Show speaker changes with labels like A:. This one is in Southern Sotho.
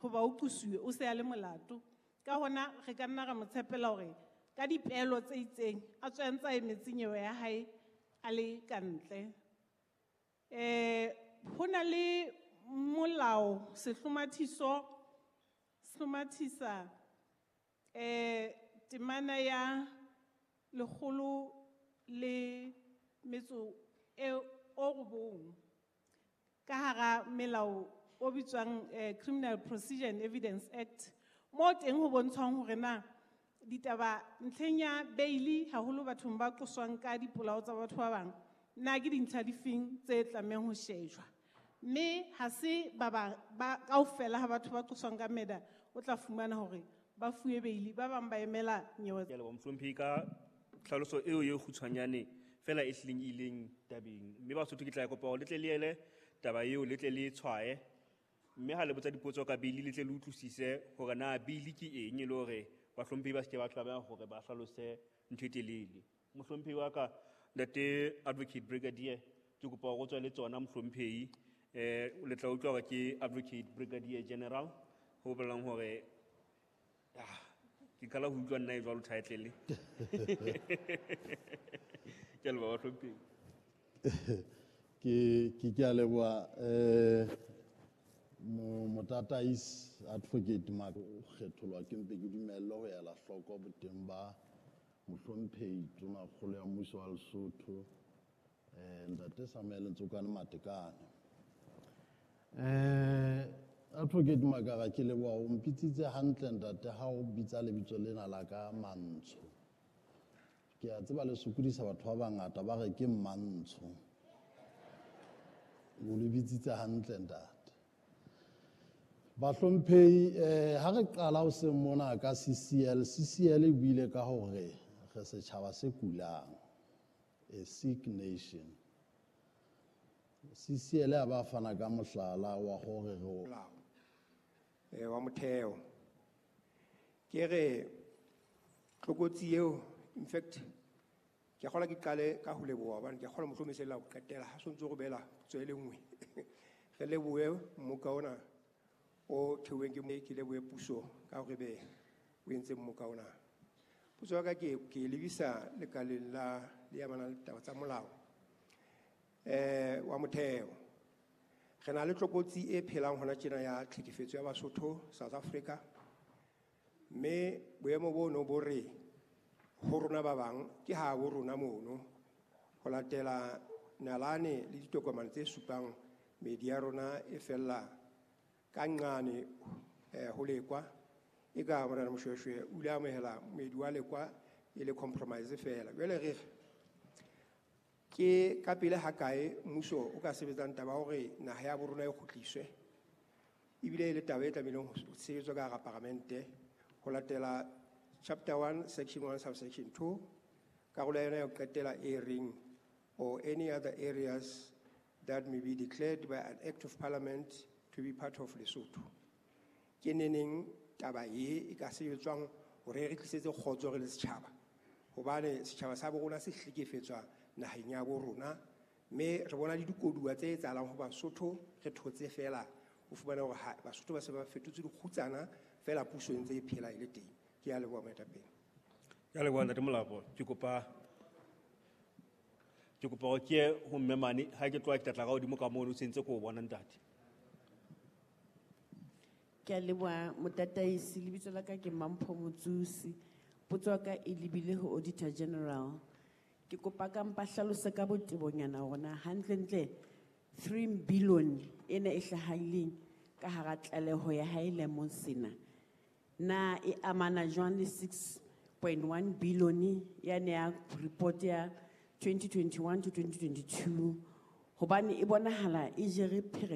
A: Hoba o qosuwe, o se a le molato. Ka hona re ka nna ra mo tshepela hore ka dipeelo tse itseng a tswe a ntse a emetse nyewe ya hae a le ka ntle. Ho na le molao sehlomathiso sehlomathisa temana ya 109 ka hara melao o bitswang Criminal Procedure and Evidence Act, mo teng ho bontshwang hore na ditaba ntlheng ya bail haholo bathong ba qoswang ka dipolao tsa batho ba bang, na ke dintlha difeng tse tlamehang ho shejwa. Mme ha se ba ba kaofela ha batho ba qoswang ka murder o tla fumana hore ba fuwe bail, ba bang ba emela nyewe.
B: Ke a leboha mohlomphehi ka tlhaloso eo e kgutshwanyane fela e hlileng e ileng tabeng. Mme Basotho ke tla kopa hore le tle le ele taba eo, le tle le tshwaye. Mme ha le botsa dipotso ka bail, le tle le utlwisise hore na bail ke eng, e le hore bahlomphehi ba se ke ba tlameha hore ba hlalose ntho e telele. Mohlomphehi wa ka, Ntate Advocate Brigadier, ke kopa hore o tswe le tsona mohlomphehi. Le tla utlwa hore ke Advocate Brigadier General, ho bolelang hore, ke qala ho utlwa nna e jwalo title. Ke a leboha bahlomphehi.
C: Ke a leboha, motataisi Advocate Mark, o kgetholwa ke mpe ke dumelle ho ela hloko boteng ba mohlomphehi Tonakgolo ya Mmuso wa Lesotho, Ntate Samuel Ntsokane Matekane. Advocate Makara, ke leboha o mpitsitse hantle ntate ha o bitsa lebitso lena la ka Mantsho. Ke a tseba le sokodisa batho ba bangata ba re ke Mmantsho. O le bitsitse hantle ntate. Bahlomphehi, ha re qala ho seng mona ka CCL, CCL e buile ka hore re setjhaba se kulang, a sick nation. CCL a ba fana ka mohlala wa hore re o
D: Molao, wa motheo. Ke re tlokotsi eo, in fact, ke kgolwa ke qale ka ho leboha hobane ke kgolwa mohlomong e se le la ho qetela, ha sontso re beela potso e le nngwe. Re lebohe mmoka ona o theuweng ke ke lebohe puso ka hore be o entse mmoka ona. Potso ya ka ke lebisa lekaleng la le amanang le taba tsa molao, wa motheo. Re na le tlokotsi e phelang hona tjena ya tlhekefetso ya Basotho South Africa. Mme boemo bono bo re ho rona ba bang ke ha bo rona mono ho latela nalane le ditokomane tse supang meedi ya rona e fella ka nqane, ho Lekwa. E ka Morena Moshoeshoe o ile a amohela moedi wa Lekwa e le compromise fela. Jwale re re ke ka pele ha kae mmuso o ka sebetsang taba ya hore naha ya bo rona e kgutliswe, ebile e le taba e tlamehileng ho sebetswa ka hara paramente ho latela chapter 1 section 1 subsection 2 karolo ya yona ya ho qetela e reng or any other areas that may be declared by an act of parliament to be part of Lesotho. Ke neneng taba e ka sebetswang hore re tlisetse kgotso re le setjhaba, hobane setjhaba sa bo rona se hlekefetswa naheng ya bo rona, mme re bona le dikoduwa tse etsahalang ho Basotho, re thotse fela o fumana hore ha Basotho ba se ba fetotse dikgutsana fela, puso e ntse e phela e le teng. Ke a leboha moetapele.
B: Ke a leboha Ntate Molapo. Ke kopa hore ke ye ho mme mane, ha ke tloha ke tla tla ka hodimo ka mono, o sentse ke o bona ntate.
E: Ke a leboha motataisi, lebitso la ka ke Mampho Motsusi. Potso ya ka e lebile ho Auditor General. Ke kopa ka mpa hlalose ka botebonyana hore na hantlentle 3 billion ena e hlahileng ka hara tlaleho ya hae lemong sena, na e amana jwang le 6.1 billion ya ne ya report ya 2021 to 2022, hobane e bonahala e jere phere